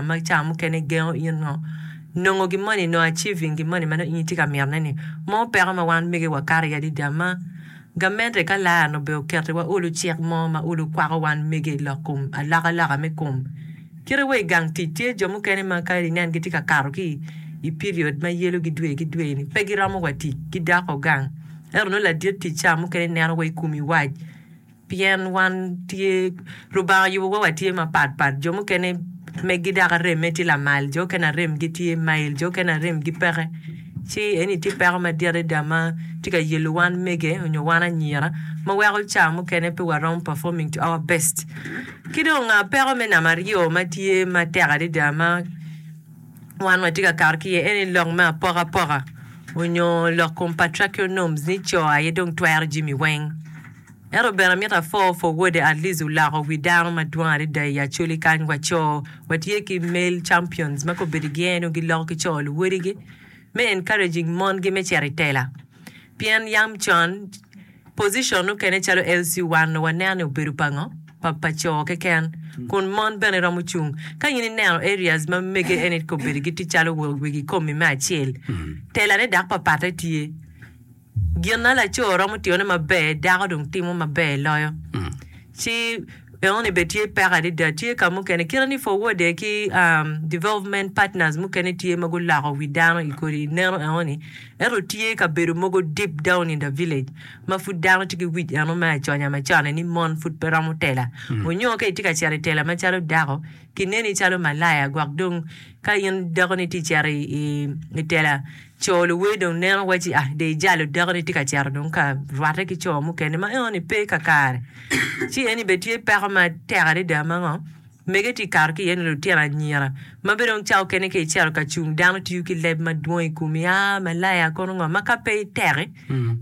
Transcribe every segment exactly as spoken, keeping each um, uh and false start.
Ma ca mukene gengo in ngo nongo gin moni, nongo achieving gin moni ma nongo in itye ka mitone ni. Mo peko ma wan mege wakato iye adada ma gamente ka lar-ni obedo oketiwa olo cik mo ma olo kwako wan mege i lok kom alokaloka me kom. Kite wa i gang tic tye jo mukene ma ka inen gitye ka kato ki i period ma yelogi dwe ki dwe ni pe giromo wa tic gidoko gang ento nongo ladit tic ca mukene neno wa i komi wac. Pien wan tye, Lubanga oyubowa watye mapatpat, jo mukene megi dok aremme tye lamal, jo okene aremgi tye mail, jo okene aremgi peke. Ci eni tye peko madit adada ma tye ka yelo wan mege nyo wan anyira ma weko ca mukene pe waromo performing to our best. Ki dong peko me namba aryo ma tye matek adada ma wan watye ka kato ki iye eni lok me apokapoka onyo lok kom patriarchal norms ni co aye dong twero jami weng. Ento bene amito apwo for wode at least oloko wi dano madwong adada i Acholi kany wa co watye ki male champions ma kobedo gi en giloko ki co luwodigi me encouraging mon gi me cito i tela pien yam con position mukene calo L C one nongo waneno ni obedo pa ngo pa pa co keken kun mon bene romo cung ka in ineno areas ma mege eni kobedo gitye calo wegi komi me acel telane dok papatte tye. Gin ma laco romo tiyone maber, dako dong timo maber loyo. Ci enoni bene tye peko adada. Tye ka mukene kite ni forwode ki development partners mukene tye ma guloko wi dano i kodi neno enoni. Ento tye kabedo mogo deep down in the village ma pud dano tye ki wic eno me aconya macon ni mon pud pe romo tela. Onyo ka itye ka cito i tela macalo dako kineni calo malaya gwok dong ka in dakoni tye cito i tela Co luwer dong neno wacci, Ah, dong ijalo dakoni tye ka cito dong ka rwatte ki co mukene ma enoni pe kakare. Ci eni bene tye peko matek adada ma ngo mege tye kato ki iye ni lutino anyira ma bene dong ca okene ka icito ka cung dano tiyo ki leb madwong i komi, ah malaya kono ngo ma ka pe iteki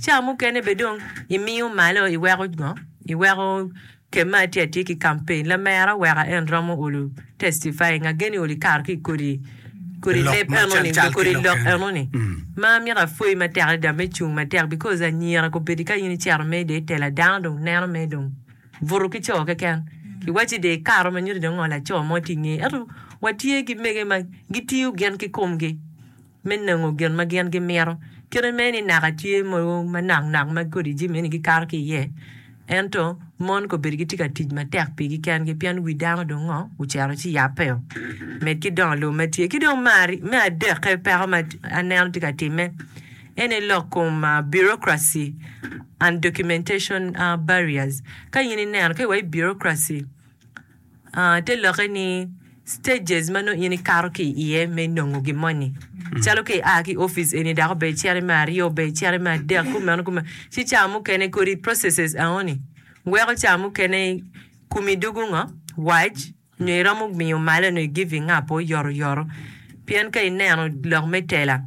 ca mukene bene dong imiyo malo iweko ngo iweko Kema atye atye ki campaign lamera weka en romo olu testifying ageni olu ikato ki kodi kodi Lok leb ma eno cal ni cal ki kodi lok lok eno. eno ni ma amito apwoyi matek adada me cung matek because anyira kobedi ka in icito me de itela dano dong neno me dong buto ki co keken kiwaci de ikato ma nyuto dong ngo laco mo tye inge ento watye ki mege ma gitiyo gin ki komgi me nongo gin ma gin gimito. Kite mere ni naka tye mogo manok nok ma kodi jami eni gikato ki iye, ento mon kobedo gitye ka tic matek pigi kengi pien wi dano dong ngo ocito ci yabbeo med ki dongo lobo ma tye. Ki dong me adekke peko ma aneno tye ka timme en aye lok kom bureaucracy and documentation barriers. Ka in ineno ka iwaco bureaucracy Te lokke ni stages ma nongo in ikato ki iye me nongo gin moni. Calo ka ia ki i opic eni dok obedo icito me aryo, obedo icito me adek, kumeno kumeno. Ci ca mukene kodi processes enoni weko ca mukene komi dwogo ngo? Wac nyo iromo miyo malo nyo i giving up oyotoyot. Pien ka ineno lok me tela.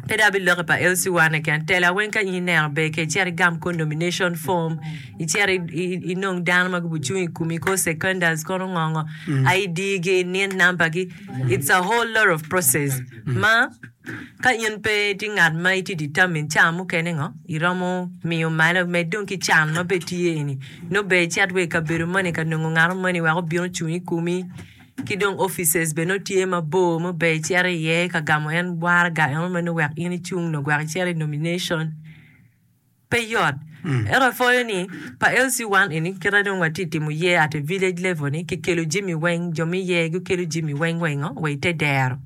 Pe dok abilokke pa L C one keken. Tela weng ka in ineno ber ke icit igam kor nomination form, icit inong dano ma gubucung i komi kor seconders kono ngo ngo, I D gi, nin number gi, it's a whole lot of process ma ka in pe itye ngat ma itye determined ca mukene ngo iromo miyo malo med dong ki can ma bene tye eni nongo ber icit wa i kabedo moni ka nongo ngat moni wek obin ocung i komi. Ki dong offices bene nongo tye mabor ma ber icito iye ka gamo en waraga eno ma nongo wek in icung nongo wek icit i nomination pe yot. Ento apwoyo ni pa L C one eni kite dong watye timo ye at a village level ni kikelo jami weng jo me iye gikelo jami weng wa ingo wa ite dero.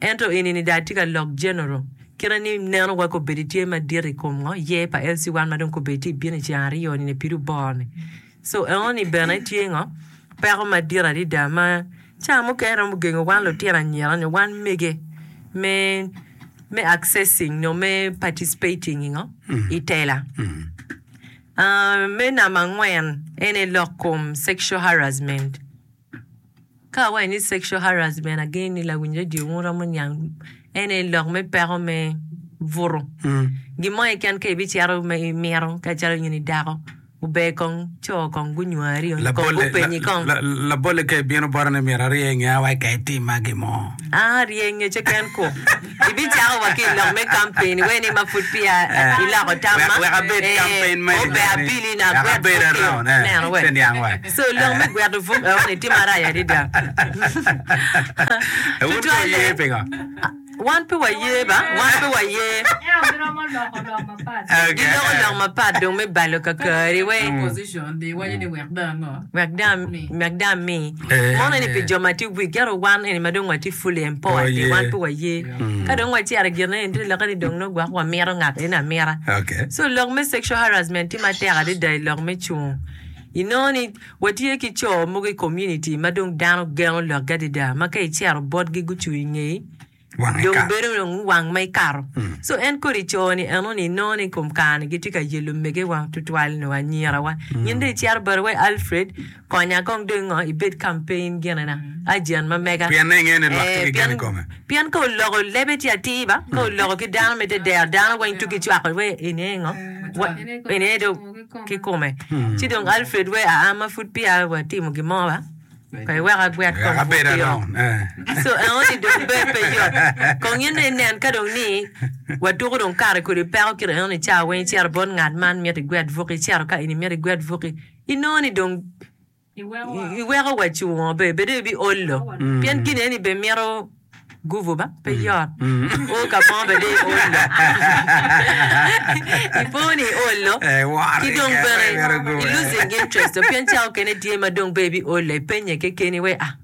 Ento eni ni dong atye ka lok general kite ni neno wa kobedo tye madit i kom ngo ye pa L C one ma dong kobedo tye bino i ceng aryo ni pido bor ni. So enoni bene tye ngo peko madit adada ma ca mukene romo gengo wan lutino anyira nyo wan mege me me accessing nyo me participating i ngo i tela. Me namba angwen ene lok kom sexual harassment. Ka awaco ni sexual harassment ageno ni lawiny radio wun romo niang en aye lok me peko me buto. Gin mo keken ka ibicito ma imito ka calo in i dako Ober kong co kong gunywari onyo kong gupenyi kong. Labolle ka ibino bota ni myero arye nge awaci ka itima gin mo. An arye ngece ken ku. Ibicako wa ki i lok me campaign wai ni ma pud peya iloko tamma. Wek abed campaign manager Ober abili na agwet buk neno we. So lok me gweto buk eno ni tye marac adada. Wun pe wuye pingo? Wan pe waye ba, wan pe waye. Giloko lok mapat dong me balo kakari wai. Wek dong ami. Mono eni pi jo ma tye weak ento wan eni ma dong watye fully empowered ni wan pe waye. Ka dong wacito i gin eni tye lokke ni dong nongo gwok wamito ngat eni amita. So lok me sexual harassment tye matek adada i lok me cungo. Inongo ni watye ki co mogo i community ma dong dano geno lokgi adada ma ka icito botgi gucung i ngeyi dong bedo dong wang ma ikato. So en kodi co ni eno ni inongo ni kom kare ni gitye ka yelo mege wa tutwal nyo anyira wa. In dong icito bote wai Alfred konya kong dong ngo ibed campaign gine na agent ma mega. Pien ingeyo ni lwak tye ki gen i kome. Pien ka oloko lebe tye atir ba ka oloko ki dano me tedero dano weng tuki cwako wai eni aye ngo eni aye dong kikome. Ci dong Alfred wee aa ma pud peya watimo gin mo ba, kong iwek agwet kong Wek abed pud pio. around. Eh. So enoni dong be pe yot. Kong in dong inen ka dong ni watuko dong kare kodi peko kit enoni ca weng icito bot ngat man mito igwet buki, icito ka eni mito igwet buki, inongo ni dong iweko wa cungo be bedo ibiolo pien gin eni be mito guvu ba pe yot o ka mo be dong iolo ipo ni iolo ki dong bene i losing interest pien ca okene tye ma dong be ibiolo ipenye kekeni wai ah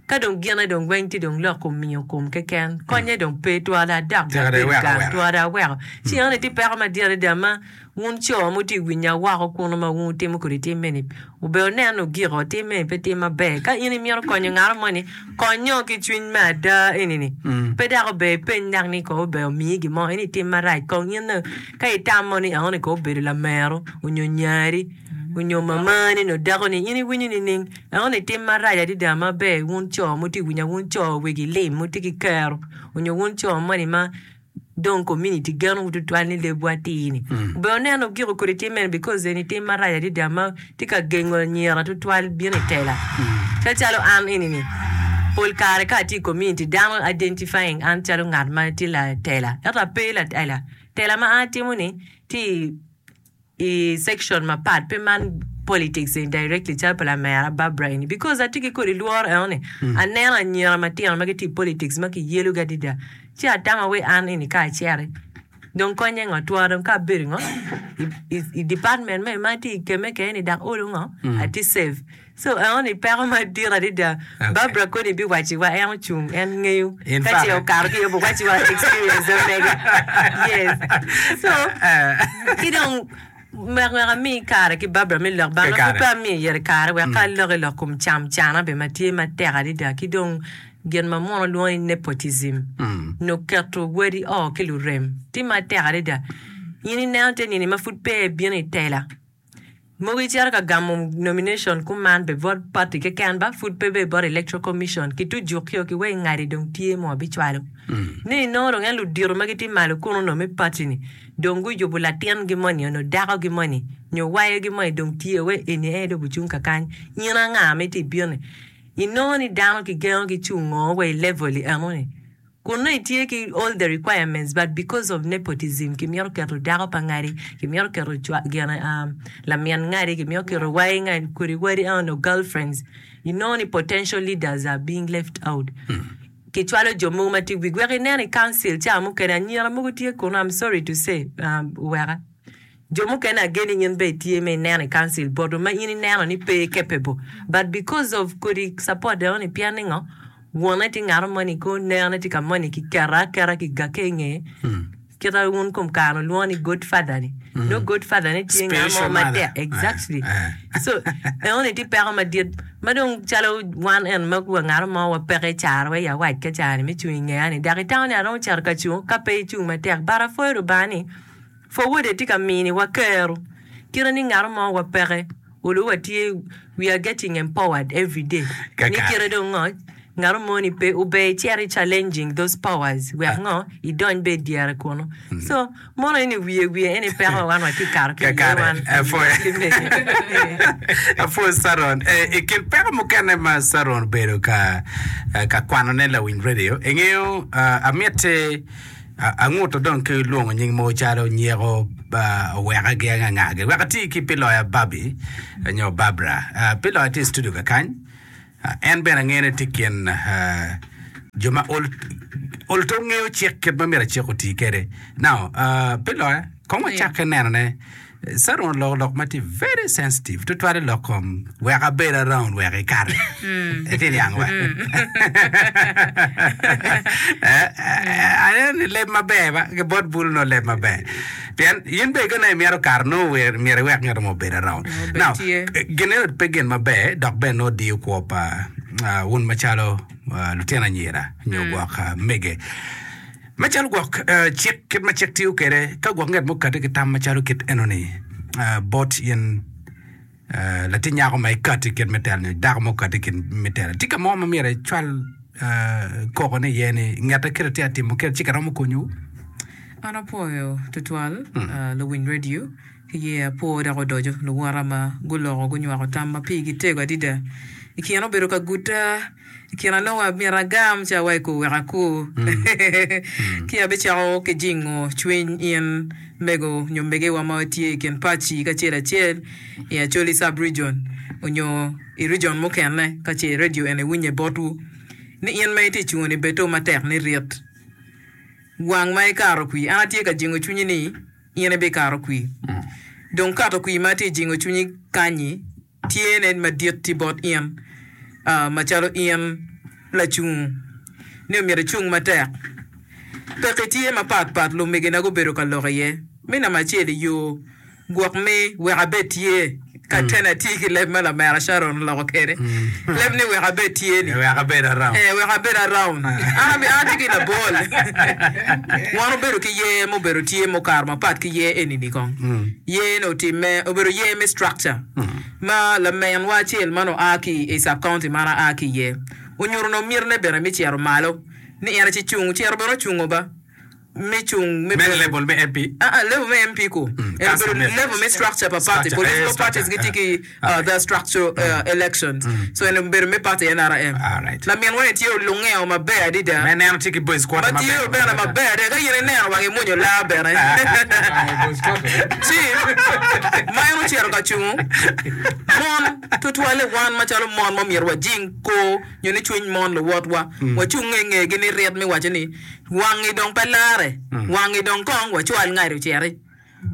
ka dong gine dong weng tye dong lok omiyo kom keken konye dong pe twara adok abedo gang twara aweko ci enoni tye peko madit adada ma Wun co ma wutye ka winya woko kunnu ma wun wutimo kodi tim meni, wubedo wunen ni wugiko tim meni pe tim maber. Ka in imito konyo ngat moni, konyo ki cwiny me ada eni-ni. Pe dok ober ipeny dok ni kong ober omiyi gin mo, eni tim marac. Kong in dong ka itamo ni enoni kong obedo lameru onyo nyari onyo mamani nyo dakoni, in iwinyo nining? Enoni tim marac adada ma ber wun co ma wutye ka winya, wun co wegi lim ma wutye ki kero onyo wun co moni ma dong community geno wu tutwal ni lebwu atir ni obedo neno giko kodi tim meno because eni tim marac adada ma tye ka gengo anyira tutwal bino i tela calo an eni ni pol kare ka atye i community dano identifying an calo ngat ma tye latela ento ape latela tela ma an atimo ni tye i i section mapat pe man politics eni directly calo pa lamera Barbara eni because atye ki kodi lworo eno ni aneno anyira matino ma gitye i politics ma kiyelo gi adada ci atamo wai an eni ka acito dong konye ngo twero dong ka abedo ngo i department me ma atye i keme kene ni dok olo ngo atye safe so eno ni peko madit adada Barbara koni biwaci wa en ocung en ngeyo ka ce okato ki iye obiwaci wa experience mege yes so ki dong wek wek ami kare ki Barbara me lok bang ma pud pe amiyo ire kare wek ka alok i lok kom cam cana bene ma tye matek adada ki dong gin ma muno lwongo ni nepotism nyo keto wadi oo ki lurem tye matek adada in ineno te nini ma pud peya ibino i tela Mogo icito ka gamo nomination kuman be bot party keken ba pud pe be bot electoral commission ki tu jukio ki wai ngadi dong tye mo bicwalo ni inongo dong en ludito ma gitye malo kunu no me party ni dong guyubo latin gi moni onyo dako gi moni nyo wayo gi moni dong tye wai eni aye dong ocung kakany in anga ma itye ibino ni inongo ni dano ki gengo ki cungo wa i level eno ni Kun nongo itye ki all the requirements but because of nepotism kimito keto dako pa ngadi, kimito keto cwa gine lamin ngadi, kimito keto wai ngadi kodi wadi eno girlfriends inongo ni potential leaders are being left out. Kicwalo jo mogo ma tye i wigi wek inen i council ca mukene anyira mogo tye kunu I'm sorry to say weka Jo mukene ageni in bene itye me ineno i council botwu ma in ineno ni pe capable but because of kodi support eno ni pien ni ngo wone tye ngato moni ko nene tye ka moni ki keto aketa ki gake inge kita wun kom kare ni lwongo ni god father ni nongo god father ni tye nga mo matek exactly so eno ni tye peko madit ma dong calo wan en ma wa ngato mo wa peke i caro wa i awac ka caro ni me cung ingeya ni dok itamo ni aromo cito ka cung ka pe icung matek but apwoyo Lubanga ni Forward tye ka miniwa kero kite ni ngat mo wa peke olo wa tye we are getting empowered every day ni kite dong ngo Ngat mo ni pe ober icito i challenging those powers wek ngo idony be i dyere kunu. So mono eni wiye wiye eni peko ma wan watye ka kato ki iye Kakare, wan apwoyo. ki mege. Apwoyo Saron. Eh, I kin peko mukene ma Saron obedo ka eh, ka kwanone lawiny radio, ingeyo uh, amiti uh, anguto dong ki lwongo nying mogo calo Nyeko uh, oweka gi angangagi. Wek ati ki Piloya Babi nyo Barbara. Uh, Piloya tye i studio kakany. Uh, en bene angeyo ni tye i kin uh, jo ma ol, ol to ngeyo cik kit ma myero cik oti kwede. Now, uh, Piloya, kong wacakke nenone Saron oloko lok ma tye very sensitive tutwale lok kom wek abed around wek ikati. Itye niang wa? Aneno ni leb maber ba ki bot bulu no leb maber. Pien in bene ka nongo imito kato nongo wer- myero iwek ngat mo obed around. Obed Now, tye. gin eno pe gin maber dok bene nongo diyo kwo pa uh, wun macalo uh, lutino anyira nyo gwok uh, mege. Macalo gwok uh, cik kit ma cik tiyo kwede ka gwok ngat mo okati ki tam macalo kit enoni uh, bot in uh, latin nyako ma ikati kit me telo nyo dako ma okati kit me telo tye ka mo ma myero icwal uh, koko ni iye ni ngete kite tye atimo kite ci karomo konyowu An apwoyo tutwal uh, luwiny radio ki ye apwo dok odoco luwota ma guloko gunywako tam ma pigi tego adada i kine obedo ka guta i kine nongo amyero agam ca wa i ko wek akur ki abicako ki jingo cwiny in mego nyo megewa ma tye i kin paci kacel acel i Acholi sub region onyo i region mukene ka ce radio eni winye botwu ni in ma itye cungo ni bedo matek ni rit wang ma ikato kwi an atye ka jingo cwinyi ni in ibikato kwi dong kato kwi ma atye jingo cwinyi kanyi tye ne madit ti bot in uh, macalo in lacung ni omyero icung matek peki tye mapat pat lumegina gubedo ka lok iye mi namba acel i yo gwok mi wek abed tye ka tena tye ki leb ma lamera Sharon oloko kwede leb ni wek abed tye ni wek abed around Eh, wek abed around. An abi an atye ki labol. Wan obedo ki yer mubedo tye mukato mapat ki yer eni-ni kong. Yer ni otimme obedo yer me structure ma lamenwa acel man oa ki i sub county man aa ki iye onyuto no mitine bene me cito malo ni en ci cung cito bene ocungo ba me cung me me bedo level me M P. Ah, ah, level me M P ku. En council obedo me- level me structure pa party. Structure, Political eh, parties structure, gitye ki eh. uh, the structure uh, elections. So en obedo me party N R M. Alright. Laminwa ni tye olungeo maber adada. Me neno tye ki boys quarter Ma tye maber. bene maber adada. Ka in ineno wangi mwonyo laa bene. Ci ma en ocito ka cungo mon tutwalle wan macalo mon ma myero wajing kor nyo ni cwiny mon luwotwa wacung i ngegi ni rit mi waco ni wangi dong pe lare wangi dong kong wacwal ngati ociti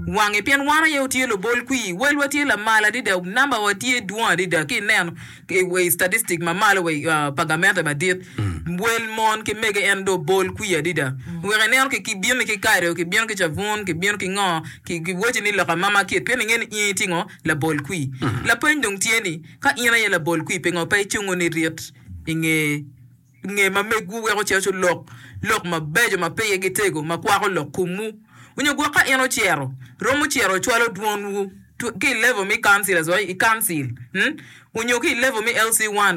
wangi pien wan aye otye lubol kwi welwa tye lamal adada namba wa tye dwong adada ki ineno i statistic mamalo wa i, uh, pa gamente madit wel mon ki mege en do bol kwi adada wek ineno ki kibino ki kado kibino ki cabun kibino ki ngo ki kiwaci ni loka mama kit pien inge ni in itye ngo labol kwi lapeny dong tye ni ka in aye labol kwi pingo pe icungo ni rit inge nge ma megwu weko cito lok lok mabeco ma pigi gitego ma kwako lok komwu onyo gwok ka en ocero romo cero cwalo dwonwu tu- ki i level mi councillors wa i council hmm? Onyo ki i level mi L C one.